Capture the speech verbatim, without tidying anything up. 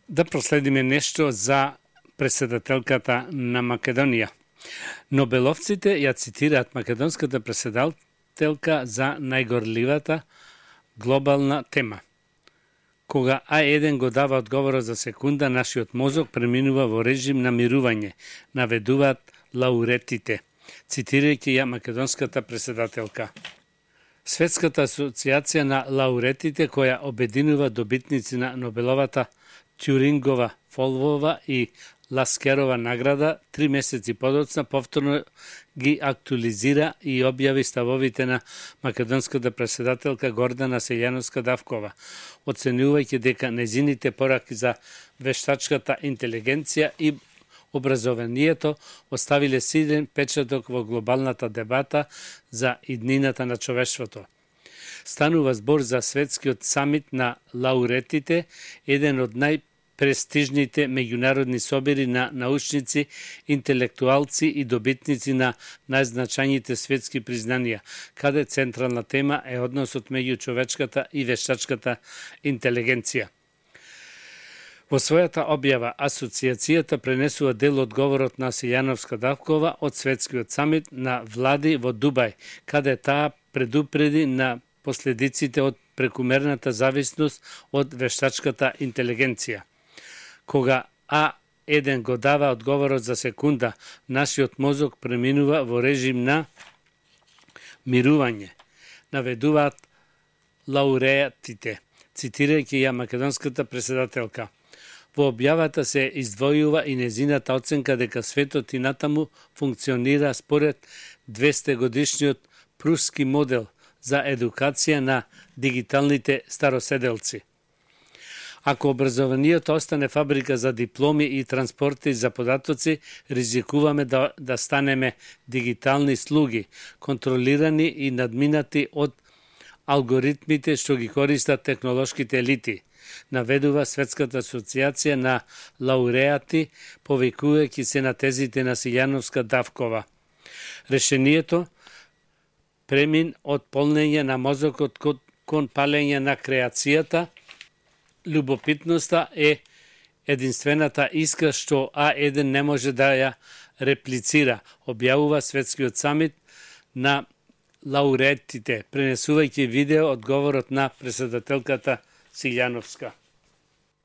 Да проследиме нешто за претседателката на Македонија. Нобеловците ја цитираат македонската претседателка за најгорливата глобална тема. Кога А еден го дава одговорот за секунда, нашиот мозок преминува во режим на мирување, наведуваат лауреатите, цитирајќи ја македонската претседателка. Светската асоциација на лауреатите, која обединува добитници на Нобеловата, Тјурингова, Фолвова и Ласкерова награда, три месеци подоцна повторно ги актуализира и објави ставовите на македонската претседателка Гордана Силјановска-Давкова, оценувајќи дека незините пораки за вештачката интелигенција и образованието оставиле силен печаток во глобалната дебата за иднината на човештвото. Станува збор за светскиот самит на лауреатите, еден од најпрестижните меѓународни собери на научници, интелектуалци и добитници на најзначајните светски признанија, каде централна тема е односот меѓу човечката и вештачката интелигенција. Во својата објава, асоциацијата пренесува дел од говорот на Силјановска-Давкова од светскиот самит на влади во Дубај, каде таа предупреди на последиците од прекумерната зависност од вештачката интелигенција. Кога А еден го дава одговорот за секунда, нашиот мозок преминува во режим на мирување, наведуваат лауреатите, цитирајќи ја македонската претседателка. Во објавата се издвојува и незината оценка дека светот и натаму функционира според двесте годишниот пруски модел за едукација на дигиталните староседелци. Ако образованието остане фабрика за дипломи и транспорти за податоци, ризикуваме да, да станеме дигитални слуги, контролирани и надминати од алгоритмите што ги користат технолошките елити, наведува Светската асоциација на лауреати, повикувајќи се на тезите на Силјановска-Давкова. Решението премин од полнење на мозокот кон палење на креацијата, любопитноста е единствената искра што А еден не може да ја реплицира, објавува Светскиот самит на лауреатите, пренесувајќи видео од говорот на претседателката Силјановска.